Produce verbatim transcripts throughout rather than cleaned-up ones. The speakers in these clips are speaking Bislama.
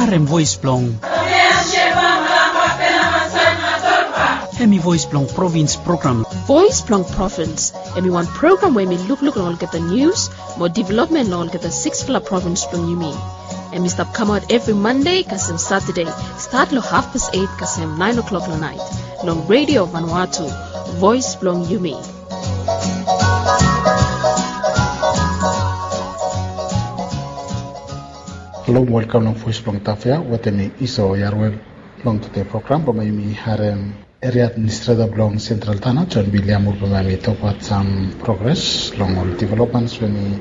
Em voes blong. Em i voes blong provins program. Voes blong provins. Em i wan program we em i lukluk long olgeta nius mo developmen long olgeta siksfala provins blong yumi. Em i stap kamaot evri Mande kasem Satade, stat long hafpas eit kasem naen o'klok long naet, long Redio Vanuatu, voes blong yumi. Halo, welkam long voes blong Tafea, wetem mi Iso Yarwel. Long tede program, bambae yumi harem Eria Administreta blong Sentral Tana, John Biliam Ulbama, mi tokbaot sam progres long ol developments we mi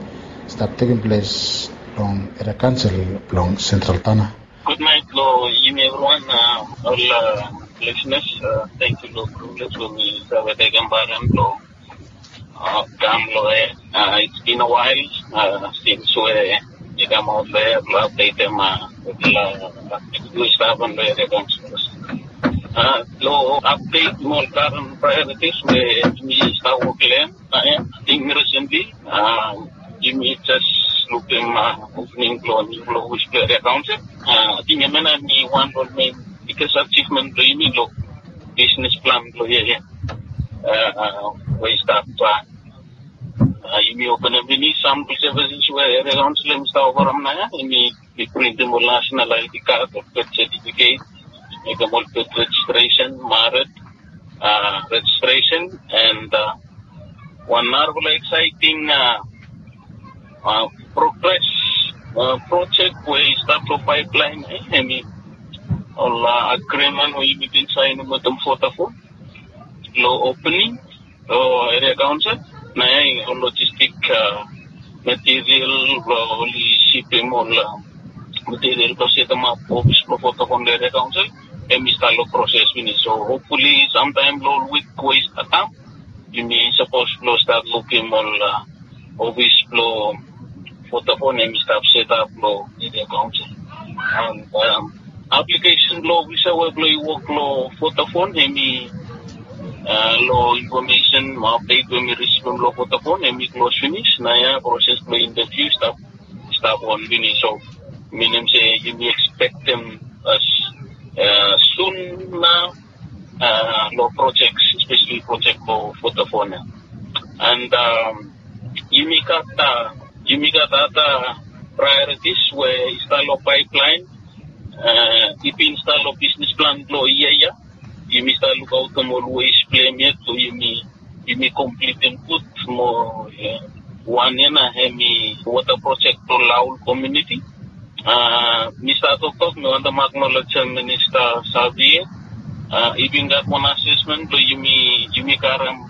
stap tekem ples long eria kaonsel blong Sentral Tana. Gudnaet long yumi evriwan, ol lisenas. Tangkiu long privilege we mi save tekem paran long kam long hia. It's been a while since we mi kamaot long hia blong apdetem ol we stap long eria kaonsel. Long apdet mo ol karen priorities we mi stap wok long hem. Ating recently yumi jes lukim opening blong niufala ofis blong eria kaonsel. Ating hemia nao em i wan long ol mein biggest achievement blong yumi long bisnes plan blong yia ya. We i stap, yumi openem finis sam blong services we eria kaonsel em i stap ofarim nao ya. Yumi printem ol national I D card, ol birth certificate, mekem ol birth registration, married registration, and wan narafala exciting progress project we i stap long pipeline, em i ol agreement we yumi bin saenem wetem Vodafone long opening long eria kaonsel. Nao ya ol logistik material blong oli sipim ol material blong setemap ofis blong Vodafone long eria kaonsel, em i stap long proses finis. So hopefully samtaem long ol wik we i stap kam, yumi sapos blong stat lukim ol ofis blong Vodafone em i stap setap long eria kaonsel. And aplikesen blong ofisa we blong i wok long Vodafone, em i long infomesen mo apdet we mi risivim long Vodafone, em i klos finis. Nao ya proses blong interviu i stap, i stap on finis. So minim se yumi ekspektem as sun nao long projek, espeseli projek blong Vodafone ya. And yumi gat, yumi gat ada priorities we i stap long pipeline. I bin stap long bisnes plan blong yia ya. Yumi stap lukaotem ol ways blong hem yet blong yumi, yumi komplitem gud mo wan ya nao em i wota projek blong Laul komuniti. Mi stap toktok, mi wantem aknolejem Minista Savie. I bin gat wan asesmen blong yumi, yumi karem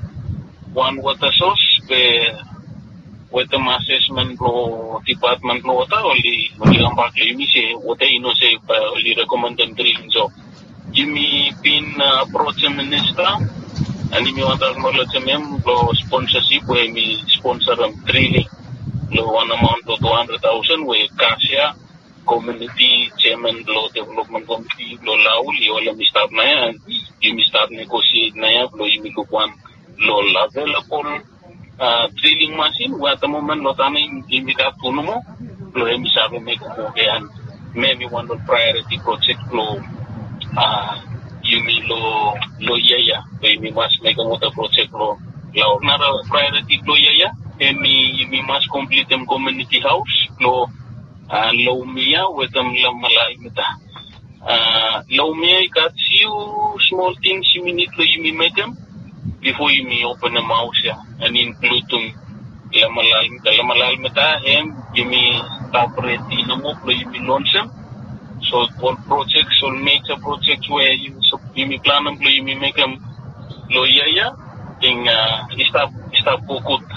wan wota sos be wetem asesmen blong dipatmen blong wota oli, oli kambak long yumi se wota i no sef, bae oli rekomendem drilling. So yumi bin aprojem Minista, and yumi wantem aknolejem hem blong sponsasip we hem i sponsorem drilling long wan amaon blong tu handred taosen we Kasia komuniti jeaman blong developmen komiti blong Laul i holem i stap nao ya, and yumi stap negosiet nao ya blong yumi luk wan long ol avelabol drilling masin we at the moment long Tana yumi gat tu nomo blong hem i save mekem wok ya. And hem i wan long priority projek blong yumi long, long yia ya, blong yumi mas mekem wota projek long Laul. Nara priority blong yia ya, hem i yumi mas komplitem komuniti haos blong Laumia wetem Lamalalmita. Laumia i gat fiu smol tings yumi nid blong yumi mekem bifo yumi openem haos ya, and inkludem Lamalalmita. Lamalalmita hem yumi stap redi nomo blong yumi lonsem. So ol projek, ol meja projek we yumi planem blong yumi mekem long yia ya, ting i stap, i stap go gud.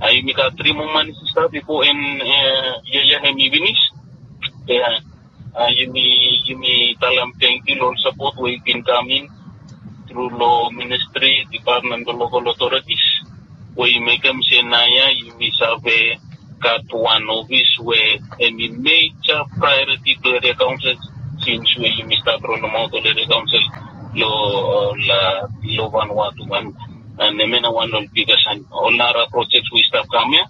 Yumi gat tri moa manis i stap bifo en yia ya hem i finis. Yumi, yumi talem tangkiu long ol sapot we i bin kam in tru long ministri, dipatmen blong lokal otoritis we i mekem se naoia yumi save gat wan ofis we hem i meja praeoriti blong eria kaonsel, sins we yumi stap rolemaot ol eria kaonsel long, long Vanuatu. And hemia nao wan long ol biggest and ol nara projek we i stap kam ya.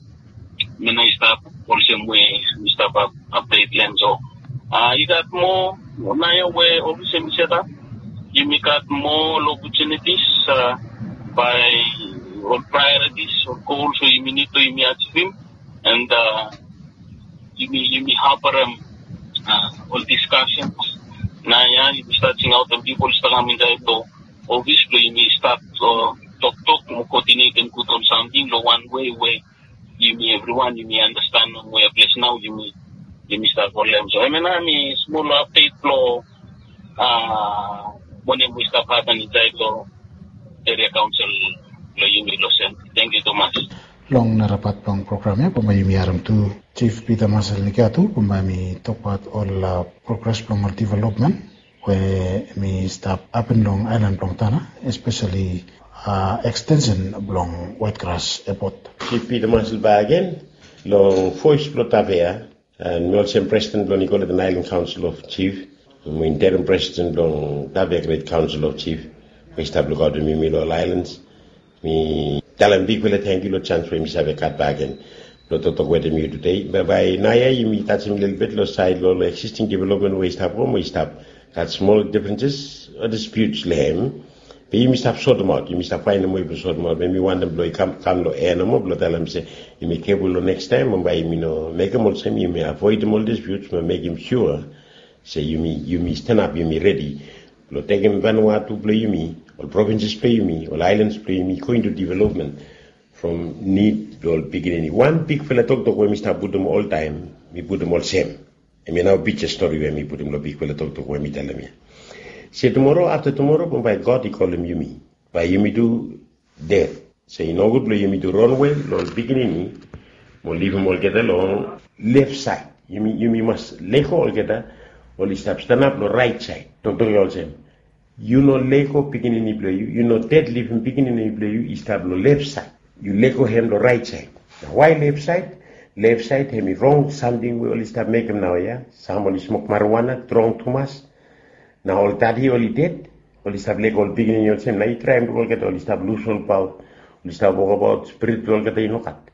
Hemia nao i stap olsem we mi stap apdet long hem. So A, i gat moa naoia we ofis hemi set ap. Yumi gat moa ol opportunities, a, bae ol priorities, ol goals we yumi nid blong yumi achievem. And, a, yumi, yumi harborem, a, ol discussions. Naoia yumi stat singaotem pipol i stap kam insaed long ofis blong yumi stat, a, toktok mo koordinetem gud ol samting long wan wei we yumi evriwan yumi andastanem we ples nao yumi, yumi stap holem. So hemia nao hemi smol apdet blong, a, wanem we i stap hapen insaed long eria kaonsel blong yumi long Sen. Tangkiu tumas. Long nara pat blong program ya bambae yumi harem tu Jif Pita Masel Nikiatu bambae hemi tokbaot ol, a, progres blong ol developmen we hemi stap hapen long aelan blong Tanna, espeseli, a, ekstensen blong Waitgras Epot. Jif Pita Masel bakegen long voes blong Tavea, a, mi olsem presiden blong Nicoleton Aelan Kaonsel of Jif, mo interim presiden blong Tavea Gret Kaonsel of Jif we i stap lukaotem yumi long ol aelans. Mi talem bigfala tangkiu long janis we mi save gat bakegen blong toktok wetem yu tude. Bae naoia yumi tajem lelebet long saed long ol eksisting developmen we i stap go mo i stap gat smol difrenses o disputes long hem. Be yumi stap sotemaot, yumi stap faenem wei blong sotemaot. Be mi wantem blong i kam, kam long ea nomo blong talem se yumi keful long nekstaem, mo bae yumi no mekem olsem, yumi avoedem ol disputes mo mekem sua se yumi, yumi stanap, yumi redi blong tekem Vanuatu blong yumi, ol provinses blong yumi, ol aelans blong yumi, go into development from nid blong ol pikinini. Wan bigfala toktok we mi stap putum oltaem, mi putum olsem. Hemia nao pija stori we mi putum long bigfala toktok we mi talem ya. Se tumoro, afta tumoro, bambae God i kolem yumi. Bae yumi tu ded. Se i nogud blong yumi tu ronwe long ol pikinini mo livim olgeta long lef saed. Yumi, yumi mas lego olgeta oli stap stanap long raet saed. Toktok ya olsem, yu no lego pikinini blong yu, yu no ded livim pikinini blong yu i stap long lef saed. Yu lego hem long raet saed. Nao wae lef saed? Lef saed hemi rong samting we oli stap mekem naoia. Sam oli smok marijuana strong tumas. Nao ol dadi oli ded, oli stap lego ol pikinini olsem. Nao yu traem luk olgeta, oli stap lus olbaot, oli stap wokabaot, spirit blong olgeta i no gat.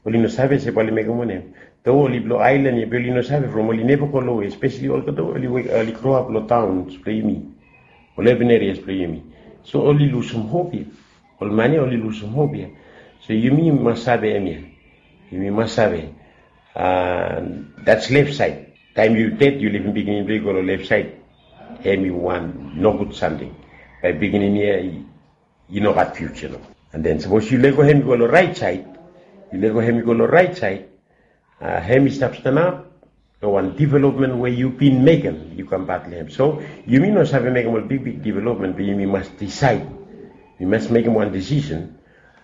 Oli no save se bae oli mekem wanem. Doa oli blong aelan ya be oli no save from oli neva go long we, espeseli olgeta we oli, oli groap long taons blong yumi, ol urban areas blong yumi. So oli lusum hop ya. Ol man ya oli lusum hop ya. So yumi mas save hemia. Yumi mas save. A, that's left side. Taem yu ded, yu livim pikinini blong yu go long lef saed, hemi wan nogud samting. Bae pikinini ya i, i no gat fiuja nomo. And then sapos yu lego hem i go long raet saed, yu lego hem i go long raet saed, a, hem i stap stanap long wan developmen we yu bin mekem, yu kam pat long hem. So yumi no save mekem ol bigbig developmen, be yumi mas disaed. Yumi mas mekem wan disisen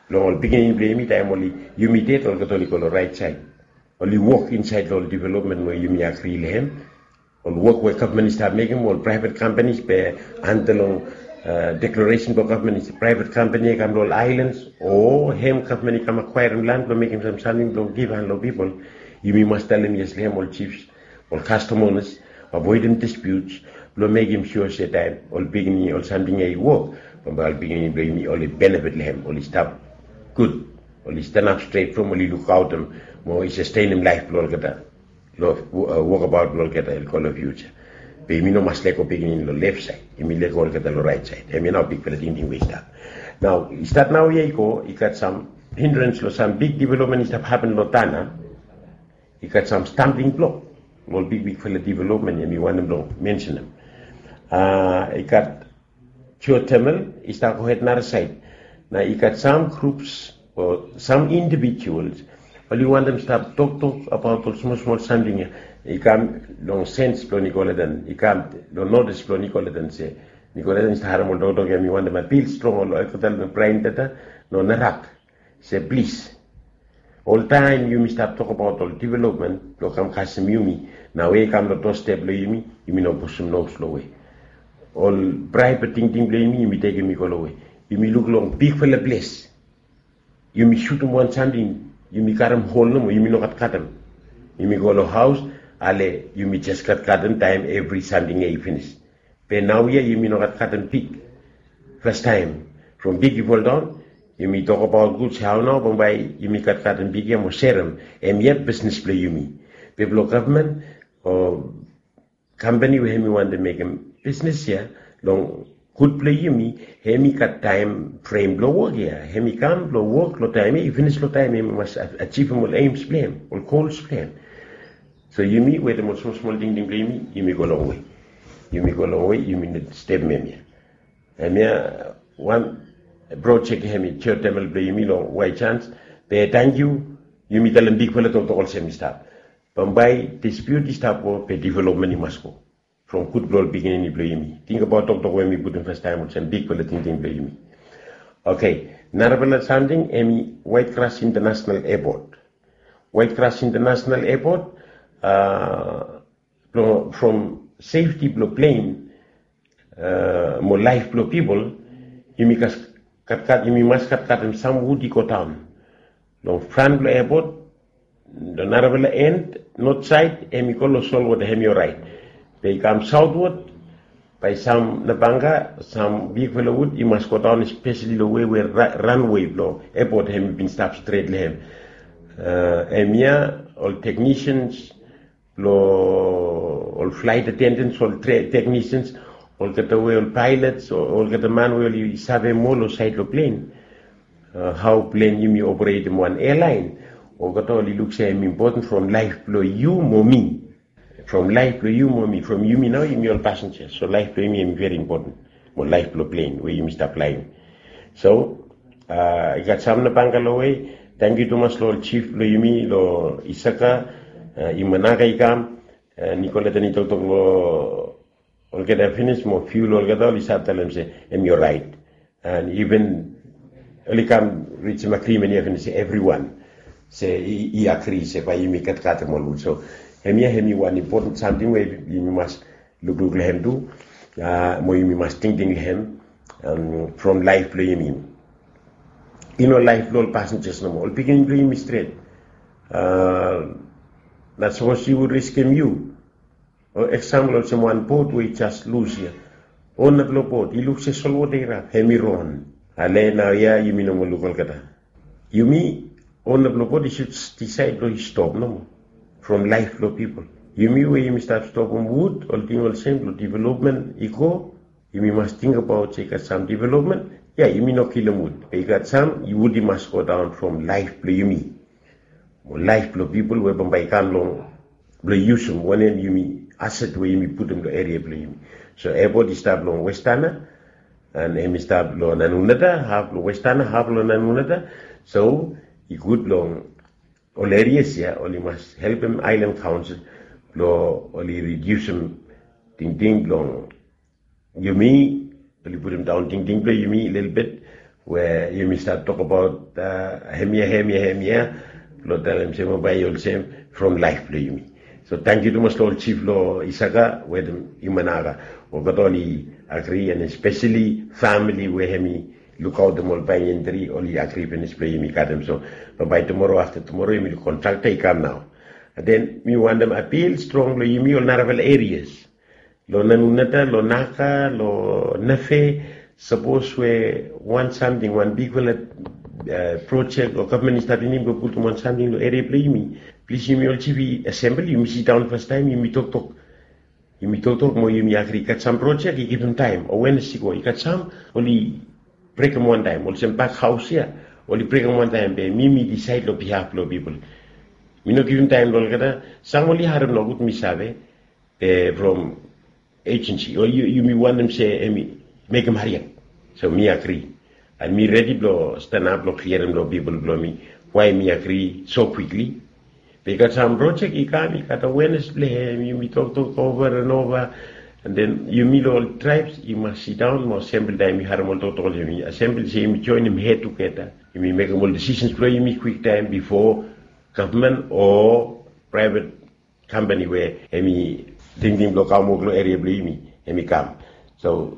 long ol pikinini blong yumi, taem oli, yumi ded, olgeta oli go long raet saed. Oli wok insaed long ol developmen we yumi agri long hem. Ol wok we gavman i stap mekem, ol praevet kampanis be anda long, a, deklaresen blong gavman se praevet kampani ya i kam long ol aelans, o hem gavman i kam akwaerem lan blong mekem sam samting blong givhan long pipol. Yumi mas talem yes long hem, ol jifs, ol kastom onas, avoedem disputes blong mekem sua se taem ol pikinini, ol samting ya i wok, bambae ol pikinini blong yumi oli benefit long hem, oli stap gud, oli stanap stret from, oli lukaotem mo i sastenem laef blong olgeta long, a, wokabaot blong olgeta i go long fiuja. Be yumi no mas lego pikinini long lef saed, yumi lego olgeta long raet saed. Hemia nao bigfala tingting we i stap. Nao i stat naoia i go, i gat sam hindrens long sam big developmen i stap hapen long Tanna. I gat sam stambling blok long ol bigbigfala developmen ya mi wantem blong mensenem. A, i gat geothermal i stap gohed nara saed. Nao i gat sam grups o sam indivijuals oli wantem stap toktok abaot ol smol smol samting ya. I kam long sens blong Nicoleton, i kam long notis blong Nicoleton se Nicoleton i stap harem ol toktok ya, mi wantem apil strong long olgeta long Braendata, long Narak, se plis, oltaem yumi stap tokbaot ol developmen blong kam kasem yumi. Nao we i kam long doostep blong yumi, yumi no pusum nos long we. Ol praevet tingting blong yumi, yumi tekem i go long we. Yumi luk long bigfala ples. Yumi sutum wan samting, yumi karem hol nomo, yumi no gat katem. Yumi go long haos, ale yumi jes gat katem taem evri samting ya i finis. Be naoia yumi no gat katem pig. Fastaem from pig i foldaon, yumi tokbaot gud se hao nao bambae yumi gat katem pig ya mo serem. Hemia bisnis blong yumi. Be blong gavman o kampani we hemi wantem mekem bisnes ya long gud blong yumi, hemi gat taem frem blong wok ya. Hemi kam blong wok long taem ya, i finis long taem ya, hemi mas achivim ol aims blong hem, ol gols blong hem. So yumi wetem ol smol smol tingting blong yumi, yumi go longwe. Yumi go longwe, yumi no stepem hemia. Hemia wan projek hemi geothermal blong yumi long White Sands. Be tangkiu, yumi talem bigfala toktok olsem i stap. Bambae dispute i stap go, be development i mas go from gud blong ol pikinini blong yumi. Tingbaot toktok we mi putum fastaem olsem bigfala tingting blong yumi. Oke, narafala samting hemi White Cross International Airport. White Cross International Airport, a, blong, from safety blong plen, a, mo laef blong pipol, yumi gat, gat, gat, yumi mas gat, gatem sam wud i go daon long fran blong airport, long narafala en, not saed, hemi go long solwota, hemi oraet. Be i kam saotwod, bae sam nabanga, sam bigfala wud i mas go daon, espeseli long we, we ra-, ranwe blong airport hemi bin stap stret long hem. A, hemia ol technicians blong ol flight attendants, ol tre-, technicians, olgeta we ol pilots, o-, olgeta man we oli save moa long saed long plen. A, hao plen yumi operetem wan airline, olgeta oli luk se hemi impoten from laef blong yu mo mi. From laef blong yu mo mi, from yumi nao, yumi ol passengers. So laef blong yumi hemi veri impoten mo laef blong plen we yumi stap flaem. So, a, i gat sam nabanga long we, tangkiu tumas long ol jif blong yumi long Isaka, a, Imanaga i kam, a, Nicoleta i toktok long olgeta finis mo fiu long olgeta, oli save talem se hemi oraet. And even oli kam rijim agrimen ia finis, evriwan se i, i agri se bae yumi gat, gatem ol wud. So hemia hemi wan impoten samting we yumi mas lukluk long hem tu, a, mo yumi mas tingting long hem, am, from laef blong yumi. I no laef blong ol passengers nomo, ol pikinini blong yumi stret. A, not sapos yu riskem yu. O eksampol olsem wan bot we i jas lus ia. Ona blong bot i luk se solwota i rap, hemi ron. Ale naoia yumi no moa luk olgeta. Yumi, ona blong bot i sud disaed blong i stop nomo from laef blong pipol. Yumi we yumi stap stopem wud, ol ting olsem blong developmen i go, yumi mas tingbaot se i gat sam developmen, ia, yumi no kilim wud. Be i gat sam, wud i mas go daon from laef blong yumi. Mo laef blong pipol we bambae i kam long blong yusum wanem yumi aset we yumi putum long eria blong yumi. So airport i stap long Westana, and hemi stap long Nanguneta, haf long Westana, haf long Nanguneta. So i gud long ol erias ia, oli mas helpem Island Council blong oli ridiusim tingting blong yumi, oli putum daon tingting blong yumi lelebet, we yumi stap tokbaot, a, hemia, hemia, hemia, blong talem se bambae i olsem from laef blong yumi. So tangkiu tumas long ol jif long Isaka wetem Imanaga, olgeta oli agri, and espeseli famili we hemi lukaotem ol banyan tri, oli agri finis blong yumi gatem. So bambae tumoro, afta tumoro, yumi kontrakta i kam nao. And then mi wantem apil strong long yumi ol narafala erias long Nanguneta, long Naga, long Nafe, sapos we wan samting, wan bigfala, a, projek o gavman i stap tingting blong putum wan samting long eria blong yumi, plis yumi ol jif i asembol, yumi sidaon fastaem, yumi toktok. Yumi toktok mo yumi agri, i gat sam projek i givim taem, o wenes i go, i gat sam oli brekem wantaem, olsem bakhaos ia, oli brekem wantaem, be mi mi disaed long bihaf blong pipol. Mi no givim taem long olgeta, sam oli harem nogud, mi save, be from ejensi, o yu, yumi wantem se hemi mekem hariap. So mi agri. And mi redi blong stanap blong kliarim long pipol blong mi wae mi agri so kwikli. Be i gat sam projek i kam, i gat awenes blong hem, yumi toktok ova and ova. And then yumi long ol traebs i mas sidaon mo asembol taem i harem ol toktok olsem, yumi asembol se yumi joenem hed tugeta. Yumi mekem ol disisens blong yumi kwiktaem bifo gavman o praevet kampani we hemi tingting blong kam wok long eria blong yumi, hemi kam. So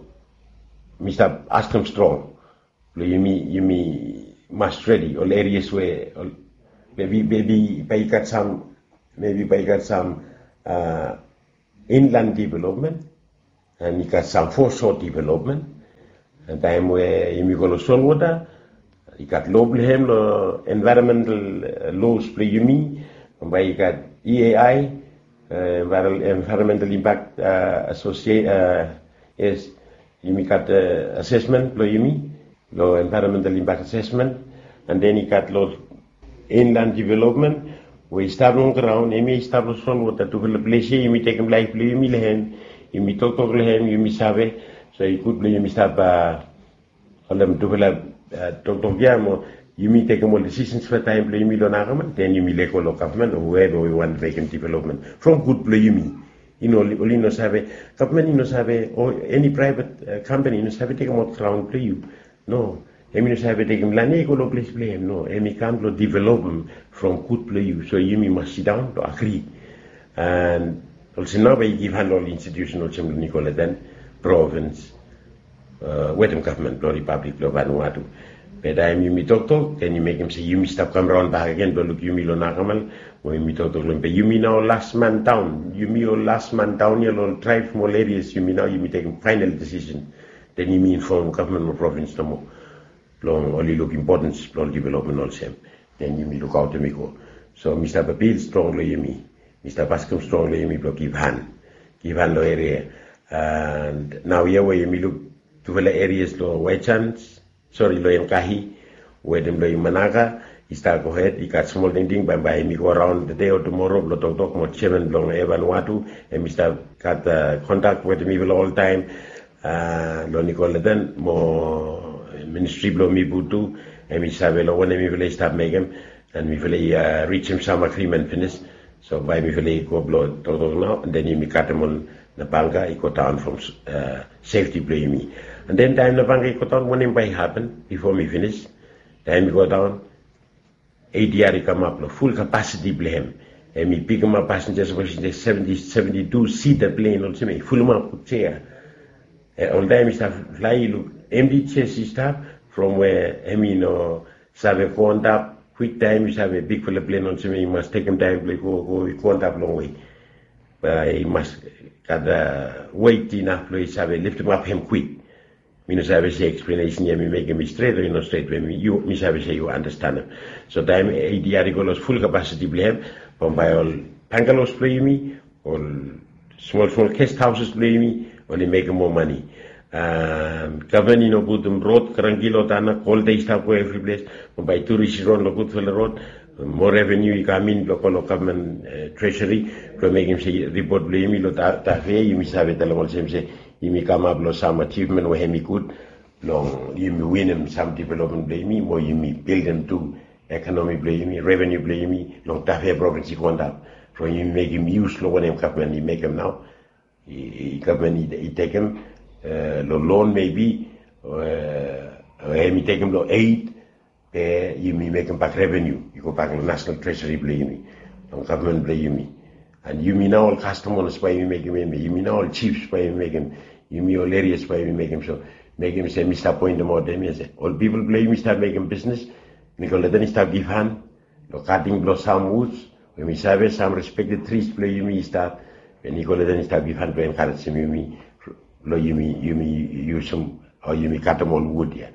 mi stap askem strong blong yumi, yumi mas redi ol erias we ol, mebi, mebi bae i gat sam, mebi bae i gat sam, a, inland development, and i gat sam foreshore development. And taem we yumi go long solwota, i gat loa blong hem long environmental, a, loas blong yumi. Bambae i gat E A I, Environmental impact associate, yes, yumi gat assessment blong yumi, long environmental impact assessment. And then i gat long inland development, we i stap long graun, em ya i stap long solwota. Tufala ples ya yumi tekem laef blong yumi long hem. Yumi toktok long hem, yumi save. So i gud blong yumi stap holem tufala toktok ya mo yumi tekem ol disisens long taem blong yumi long nakamal, then yumi lego long gavman o whoever we want mekem development from gud blong yumi. Oli no save, gavman i no save, o eni praevet kampani i no save tekem ol graun blong yu. No, em i no save tekem lan ya i go long ples blong em. No, em i kam blong developem from gud blong yu. So yumi mas sidaon long agri. And olsem nao bae i givhan long ol institusen olsem long Nicoletan, provins, wetem gavman blong ripablik blong Vanuatu. Be taem yumi toktok, then i mekem se yumi stap kam raon bakegen blong luk yumi long nakamal, we yumi toktok long hem. Be yumi nao las man daon, yumi ol las man daon ya long ol traeb mo ol erias, yumi nao yumi tekem faenal disisen. Then yumi infomem gavman mo provins nomo blong oli luk impotens blong ol developmen olsem. Then yumi lukaotem i go. So mi stap apil strong long yumi, mi stap askem strong long yumi blong givhan, givhan long eria. And naoia we yumi luk tufala erias long Waijans, sori, long Enkahi wetem long Imanaka, i stap gohed, i gat smol tingting, bambae yumi go raon tede o tumoro blong toktok mo jeaman blong Vanuatu, hem i stap gat kontak wetem mifala oltaem. Long Nicoletan mo ministri blong Mibu tu, hem i save long wanem mifala i stap mekem, and mifala i rijim sam agrimen finis. So bae mifala i go blong toktok nao, and then yumi katem ol nabanga i go daon from sefti blong yumi. And then taem nabanga i go daon, wanem bae i hapen? Bifo mi finis, taem i go daon, ADR i kamap long ful kapasiti blong hem. Hem i pikimap pasenja sapos i stap seventi, seventi tu sita plen olsem ya, i fulumap gud sea. Oltaem i stap flae, i luk emti jes i stap, from we hem i no save go antap kwiktaem. I save, bigfala plen olsem ya i mas tekem taem blong i go, go i go antap longwe. Bae i mas gat wet inaf blong i save liftimap hem kwik. Mi no save se eksplenesen ya mi mekem i stret o i no stret, be mi save se yu andastanem. So taem ADR i go long ful kapasiti blong hem, bambae ol bangalos blong yumi, ol smol smol gest haoses blong yumi, oli mekem moa mane. Gavman i no putum rod, kranki lo tana, kolta i stap go evri ples, bambae turis i ron lo gudfala rod, moa reveniu i kam in blong go lo gavman tresori blong mekem se ripot blong yumi lo tafea yumi save talem olsem se yumi kamap lo sam ajivmen we hem i gud, long yumi winim sam developmen blong yumi mo yumi bildim tu ekonomi blong yumi, reveniu blong yumi long tafea provins i go antap from yumi mekem yus long wanem gavman i mekem nao. Gavman i tekem long lon mebi, o hem i tekem long eit, be yumi mekem bak reveniu i go bak long nasenal tresori blong yumi, long gavman blong yumi. And yumi nao ol kastamas bae yumi mekem, yumi nao ol jifs bae yumi mekem, yumi ol erias bae yumi mekem. So mekem se mi stap poentemaot hem ya se ol pipol blong yumi stap mekem bisnes, Nicoletan i stap givhan long kating blong sam wuds, we mi save sam respekted tris blong yumi i stap, we Nicoletan i stap givhan blong enkarejem yumi, blong yumi yumi yusum o yumi katem ol wud ya.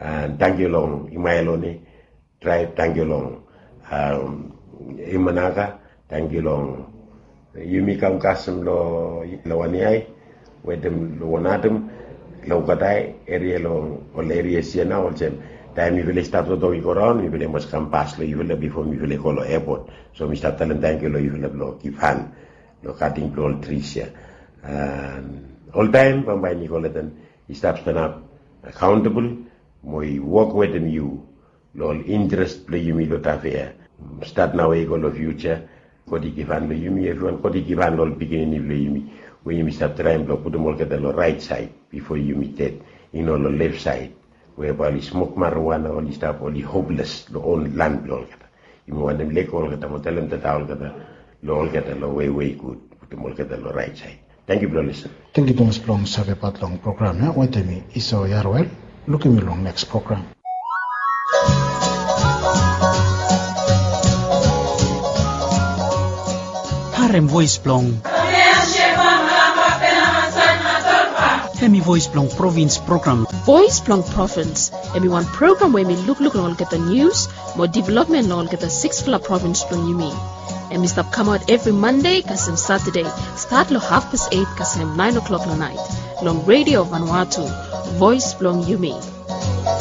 And tangkiu long Imaelone traeb, tangkiu long Imanaka, tangkiu long yumi kam kasem long Waniai wetem long Wanatem, long Ukatai eria, long ol erias ya nao olsem. Taem mifala i stap toktok i go raon, mifala i mas kam pas long yufala bifo mifala i go long epot. So mi stap talem tangkiu long yufala blong givhan long kating blong ol tris ya. And oltaem bambae Nicoletan i stap stanap akaontabol mo i wok wetem yu long ol interes blong yumi long tafea. Stat naoia i go long fiuja, God i givhan long yumi evriwan, God i givhan long ol pikinini blong yumi, we yumi stap traem blong putum olgeta long raet saed bifo yumi ded, i no long lef saed, we bae oli smok marijuana, oli stap oli hoples long on lan blong olgeta. Yumi wantem lego olgeta mo talem tata olgeta long olgeta long wei we i gud, putum olgeta long raet saed. Tangkiu blong lisin. Tangkiu tumas blong savebat long program ya. Wetem mi Isao Yaroel. Lukim yu long neks program. Harem voes blong, hemi voes blong provins program. Voes blong provins, hemi wan program we hemi lukluk long olgeta nius mo developmen long olgeta siksfala provins blong yumi. Em i stap kamaot evri Mande kasem Satade, stat long hafpes eit kasem naen o'klok long naet, long Redio Vanuatu, voes blong yumi.